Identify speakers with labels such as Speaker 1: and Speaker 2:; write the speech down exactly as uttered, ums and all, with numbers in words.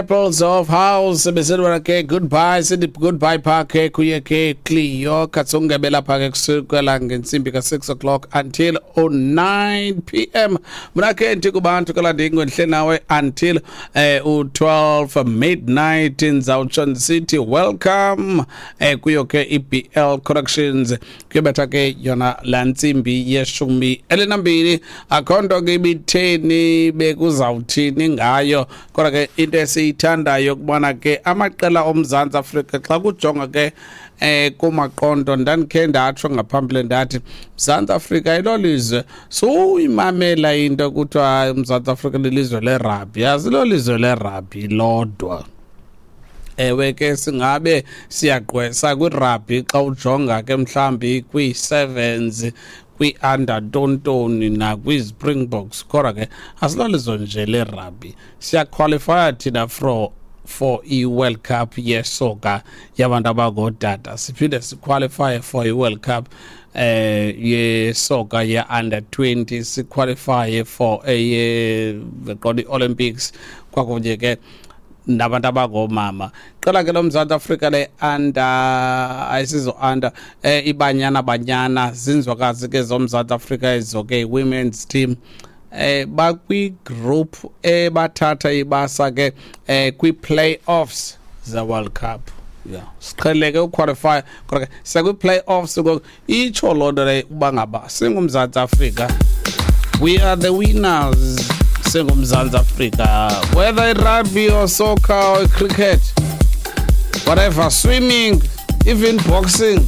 Speaker 1: Disciples of House beselwana ke goodbye, sithi goodbye pha ke kuye ke Cleo Katsonge lapha ke kusukela ngentsimbi ka six o'clock until nine p m. Mna ke ndithi kubantu kalandingo ndihle nawe until eh u-twelve midnight. Ndizawutsho ndisithi welcome eh kuyo ke i-B L Connections. Kuyobetha ke yona laa ntsimbi yeshumi elinambini. Akho nto ke ibitheni bekuzawuthini ngayo, kodwa ke into esiyithandayo kubona ke amaqela oMzantsi Afrika xa kujonga ke eh kumaqondo. Ndandikhe ndatsho ngaphambili ndathi Mzantsi Afrika ilolizwe suyimamela into kuthiwa hayi, uMzantsi Afrika lilizwe lerabhi. Azilolizwe lerabhi lodwa. Ewe ke, singabe siyagqwesa kwirabhi xa ujonga ke mhlambi kwii-sevens, kwii-under tontoni nakwi-Springboks, kodwa ke asilolizwe nje lerabhi. Siyaqualifya thina for for i-World Cup yesoka yabantu abangootata, siphinde siqualifye for i-World Cup eh yesoka ye-under twenty, siqualifye for eye qonda i-Olympics kwakunye ke nabantu abangoomama. Qela ke loMzantsi Afrika le-under, ayisizo under, eh iBanyana Banyana, zinzwakazi ke zoMzantsi Afrika ezo ke, women's team, eh bakwi-group ebathatha ibasa ke eh kwi-playoffs ze-World Cup. Yeah, siqheleke uqualify, kodwa ke siya-kwi-playoffs ngoku. Itsho loo nto leyo uba ngaba singuMzantsi Afrika, we are the winners singuMzantsi Afrika, whether rugby or soccer or cricket, whatever, swimming, even boxing.